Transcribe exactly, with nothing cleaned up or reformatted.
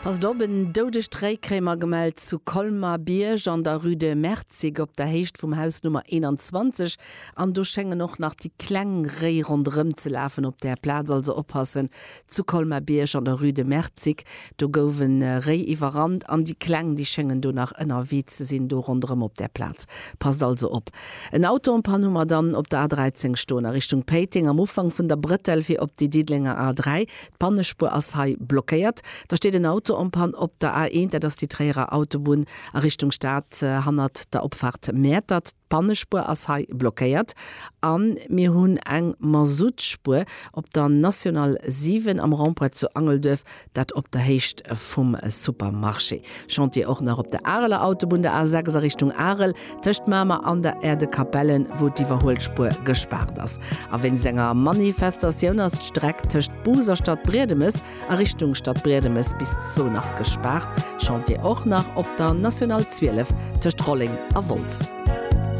Passt op, en doudegt Réi kréie mer gemellt zu Colmar-Bierg an der Rue de Merzig op der Héicht vum Haus Nummer eenanzwanzeg. An do schéngen och nach déi kleng Réi ronderëm ze lafen op där Plaz. Also oppassen, zu Colmar-Bierg an der Rue de Merzig, do gouf e Réi iwwerrannt an déi kleng, déi schéngen do nach ënnerwee ze sinn do ronderëm op där Plaz. Passt also op. En Auto en panne hu mer dann op der A dräizéng stoen a Richtung Péiteng am Ufank vun der Brëttel fir op déi Diddelenger A dräi. D'Pannespuer ass hei blockéiert. Da steet en Auto en panne op der A eent, dat ass déi Tréierer Autobunn a Richtung Stad hannert der Opfaart Mäertert. D'Pannespuer ass hei blockéiert. A mir hunn eng Masuttspuer op der National siwen am Rond-point zu Angelduerf, dat op der Héicht vum Supermarché. Chantier och nach op der Areler Autobunn, der A sechs a Richtung Arel, tëscht Mamer an der Aire de Capellen, wou d'Iwwerhuelspuer gespaart ass. A wéinst enger Manifestatioun ass d'Streck tëscht Bous a Stadbriedemes a Richtung Stadbriedemes bis zwou nach gespaart. Chantier och nach op der National zwielef tëscht Rolleng a Wolz.